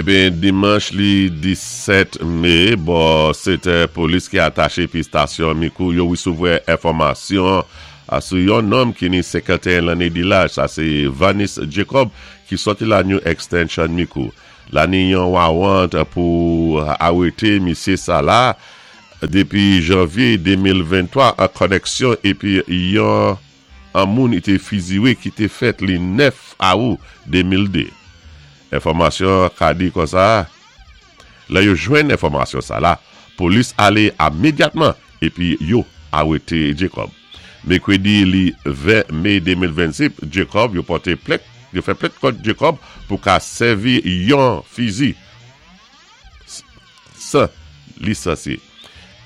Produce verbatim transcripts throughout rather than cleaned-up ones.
Eben, dimanch li disèt mé, bò sétè, polis ki ataché pi stasyon Mikou, yo wésouvoua enfòmasyon sou yon nonm ki ni senkanteyen lanné di laj, sa sé Vanis Jacob, ki sòti la New Extension Mikou. La ni yon warrant pou arété misyé sa la dépi janvyé de mil venntwa an koneksyon épi yon an moun i té fiziwé ki té fèt li nèf awou de mil dé. Enfòmasyon ka di konsa, lè yo jwenn enfòmasyon sa la, polis alé imedyatman épi yo arété Jacob. Mèkwédi li ven mé de mil vennsis, Jacob yo pòté plent, yo fè plent kont Jacob pou ka sèvi yon fizi san lisansye.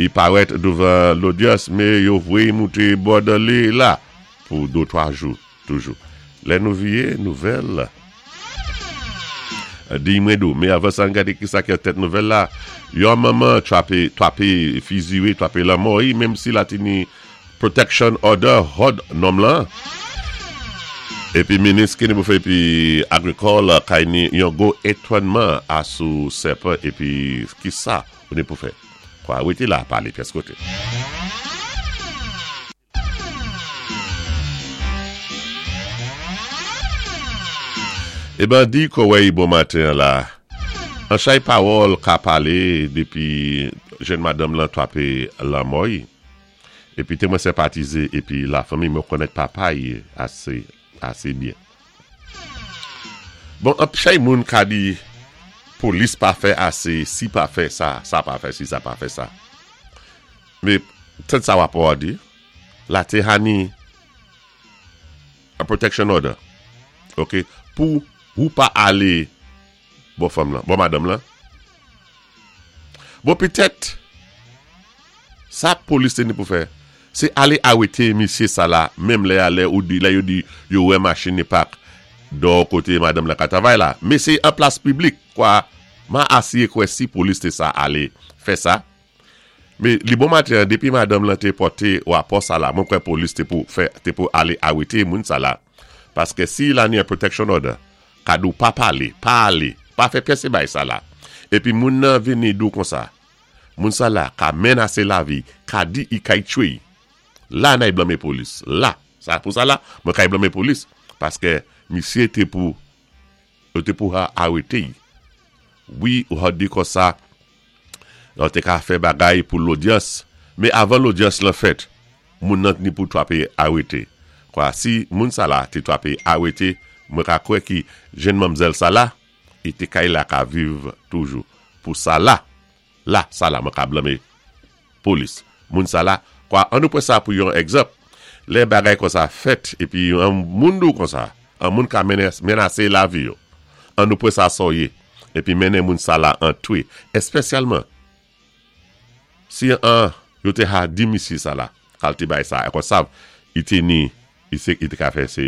I parèt douvan lodyans, mé yo voyé mouté bò li la pou dé twa jou toujou. Lè nou vyé nouvèl di mwen dou, mé avan sa gadé ki sa ki tèt nouvèl la, yon manman twapé, twapé fiziwé, twapé lanmò, menm si la té ni protection order hòd nonm lan. Épi minis ki ni pou fè épi agrikòl kay ni yon gwo étonnman asou sèpan épi ki sa ou ni pou fè. Kwa, wété la palé pyès koté. Eh ben, di kòwèy bon maten la. An chay pawòl ka palé dépi jenn madanm lan twapé lanmò i. Épi té mwen senpatizé épi la fanmi, mwen konnèt papa i asé asé byen. Bon, an chay moun ka di polis pa fè asé, si pa fè sa, sa pa fè si, sa pa fè sa. Mé tèt sa wapò a di, la té hani a protection order. OK, pou ou pa alé bò fanm lan, bò madanm lan. Bon, petèt sa polis té ni pou fè, sé alé arété misyé sa la, menm lè alé ou di, lè yo di yo wè machin ni pak dò koté madanm lan ka travay la. Mé sé an plas piblik, kwa, ma asiyé kwè si polis té sa alé fè sa. Mé li bon maten, dépi madanm lan té pòté wapò sa la, mwen kwè polis té pou fè, té pou alé arété moun sa la. Paské si la ni an protection order, ka di ou pa palé, pa alé, pa fè pyès bay sa la. Épi moun nan vini di ou konsa, moun sa la ka menasé lavi, ka di i kay tchwé. La nay blanmé polis. La, sa pou sa la, mwen kay blanmé polis. Paské misyé té pou, yo té pou ha arété. Wi, ou ha di konsa, yo té ka fè bagay pou lodyans, mé avan lodyans lan fèt, moun nan ni pou twapé arété. Kwa, si moun sa la té twapé arété, mwen ka kwè ki jenn manmzèl sa la, i té kay la ka viv toujou. Pou sa la, la, sa la, mwen ka blanmé polis. Moun sa la, kwa, an nou pran sa pou yon egzanp, lè bagay konsa fèt, épi an moun di ou konsa, an moun ka menasé lavi yo. An nou pran sa soye, épi mennen moun sa la an twi. Espesyalman, si an, yo té ha di misye sa la, kalte bay sa, e kon sav, i té ni, i se, i té ka fè sé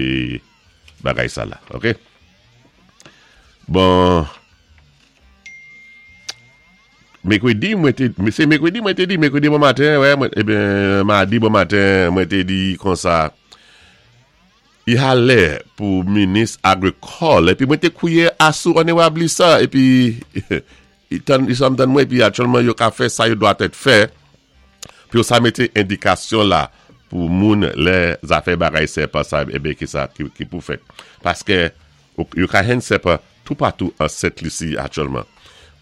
bagay sa la, OK? Bon, mèkwédi mwen té, sé mèkwédi mwen té di, mèkwédi bon maten, wè, mwen, eben, madi bon maten, mwen té di konsa, i ha lè pou minis agrikòl, épi mwen té kwié asou onorab Lisa, épi, i tan, i sam dan mwen, épi aktyèlman yo ka fè sa yo dwa tèt fè, pi yo sa mété endikasyon la, pou moun lè zafè bagay sèpan sa, ebe ki sa, ki, ki pou fèt. Paské, yo ka jwenn sèpan toupatou an Sent Lisi aktyèlman.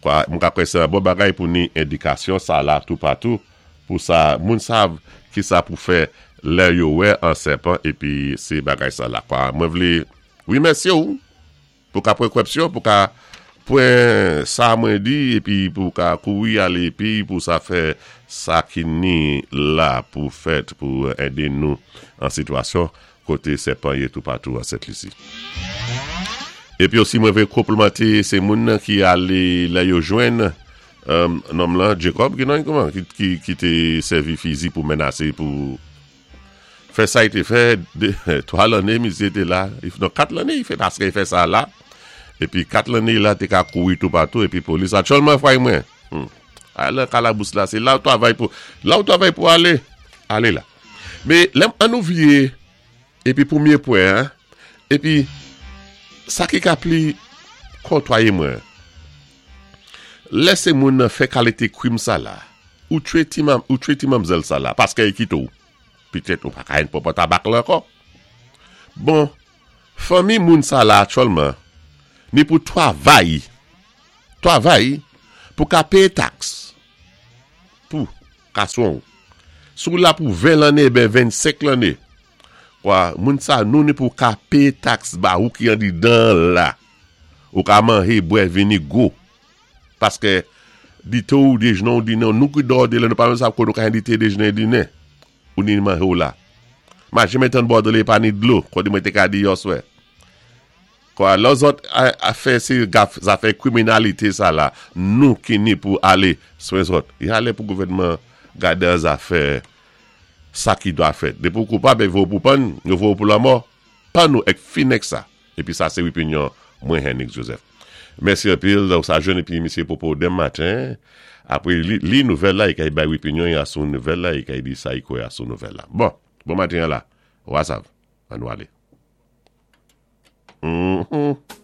Kwa, mwen ka kwè sé an bon bagay pou ni endikasyon sa la toupatou, pou sa, moun sav ki sa pou fè lè yo wè an sèpan, épi sé bagay sa la. Kwa, mwen vlé, wi mèsi ou, pou ka pran kwèpsyon, pou ka pran sa mwen di, épi pou ka kouri alé épi pou sa fè sa ki ni la pou fèt pou édé nou an sitiyasyon koté sèpan yé toupatou an Sent Lisi. Épi osi mwen vlé konplimanté sé moun nan ki alé lè yo jwenn euh, nonm lan Jacob ki nan kouman ki, ki, ki té sèvi fizi pou menasé pou fè sa i té fè dé, twa lanné misyé té la, non, kat lanné i fè paské i fè sa la épi kat lanné la té ka kouri toupatou épi polis aktyèlman fway mwen hmm. Alé kalabous la, sé la ou travay pou la ou travay pou alé alé la. Mé lè an nou vyé épi pwémyé pwen hein, épi sa ki ka pli kontwayé mwen. Lè sé moun nan fè kalité kwim sa la, ou twé ti mam, ou twé ti manmzèl sa la, paské i kité ou. Pitèt ou pa ka jwenn pwòp tabak la ankò. Bon, fanmi moun sa la aktyèlman, ni pou twavay, twavay, pou ka péyé taks. Pou, ka swen ou. Si ou la pou ven lanné, ben vennsenk lanné. Kwa, moun sa nou ni pou ka péyé taks ba ou ki andidan la. Ou ka manjé, bwè, vini gwo. Paské dité ou déjné ou dinen, nou ki dò de lè, nou pa menm sav koté ou ka jwenn dité déjné dinen. Ou ni manjé ou la. Ma janmen tann bòdolé pa ni dlo, kòdi mwen té ka di yèswè. Kwa, lò zòt a, a fè sé gaf, zafè kwiminalité sa la, nou ki ni pou alé swen zòt. Y alé pou gouvèdman gadé an zafè sa ki dwa fèt. Dépi ou koupab, yo voyé ou pou pann, yo voyé ou pou lanmò. Pann nou ek fin ek sa. Épi sa sé opinyon mwen Henry Joseph. Mèsi anpil, donk sa jwenn épi misyé Popo denmen maten. Apwé li, li nouvèl la, i kay bay opinyon i asou nouvèl la, i kay di sa i kwè asou nouvèl la. Bon, bon maten la. Wasav, an nou alé. Mm-hmm.